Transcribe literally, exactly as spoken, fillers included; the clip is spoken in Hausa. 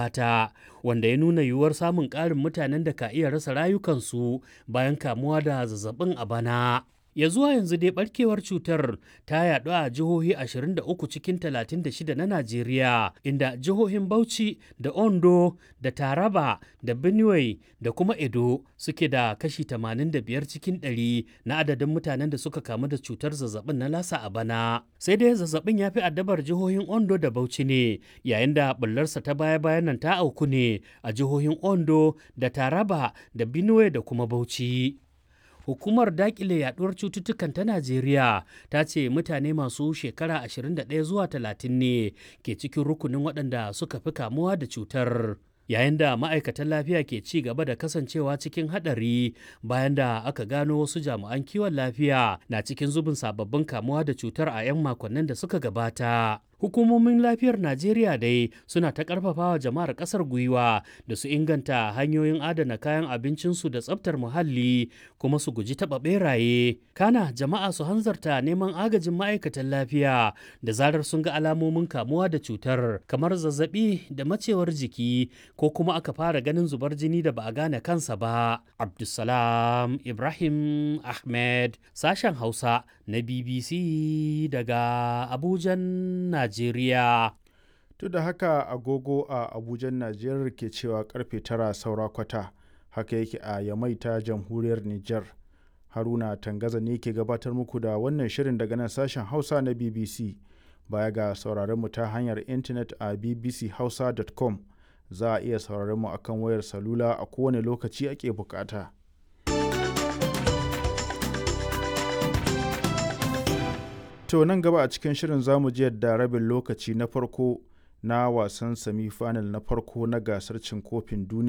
Ta wanda ya nuna yiwuwar samun ƙarin mutanen da ka iya rasa rayukansu bayan kamuwa da zazzabin a bana. Ya zuwa yanzu dai barkewar cutar ta yaɗu a jihohi ashirin da uku cikin talatin da shida na Najeriya, inda jihohin Bauchi da Ondo da Taraba da Benue da kuma Edo suke da kashi tamanin da biyar cikin ɗari na adadin mutanen da suka kamu da cutar zazzabin na Lassa a bana. Sai dai zazzabin ya fi addabar jihohin Ondo da Bauchi ne, yayin da ɓullarsa ta baya-bayan nan ta auku ne a jihohin Ondo da Taraba da Benue da kuma Bauchi. Hukumar dakile yaduwar cututtukan ta Najeriya ta ce mutane masu shekara ashirin da ɗaya zuwa talatin ne ke cikin rukunin waɗanda suka fi kamuwa da cutar. Yayin da ma'aikatan lafiya ke ci gaba da kasancewa cikin haɗari bayan da aka gano wasu jami'an kiwon lafiya na cikin zubin sababbin kamuwa da cutar a 'yan makonnin da suka gabata. Hukumomin lafiyar Najeriya dai suna ta ƙarfafawa jama'ar ƙasar gwiwa da su inganta hanyoyin adana kayan abincinsu da tsaftar muhalli kuma su guji taɓa ɓeraye. Kana jama'a su hanzarta neman agajin ma'aikatan lafiya da zarar sun ga alamomin kamuwa da cutar kamar zazzaɓi da macewar jiki ko kuma aka fara ganin zubar jini da ba a gane kansa ba. Abdulsalam Ibrahim Ahmed, sashen Hausa na B B C daga Abujan, Najeriya. To da haka agogo a Abujan Najeriya ke cewa karfe tara saura kwata, haka yake a Yamai ta jamhuriyar Nijar. Haruna Tangaza ne ke gabatar muku da wannan shirin daga nan sashen Hausa na B B C. Baya ga sauraron mu ta hanyar intanet a b b c hausa dot com, za a iya sauraron mu akan wayar salula a kowane lokaci ake bukata. To nan gaba a cikin shirin zamu ji yadda rabin lokaci na farko na wasan semi-final na farko na gasar cin kofin duniya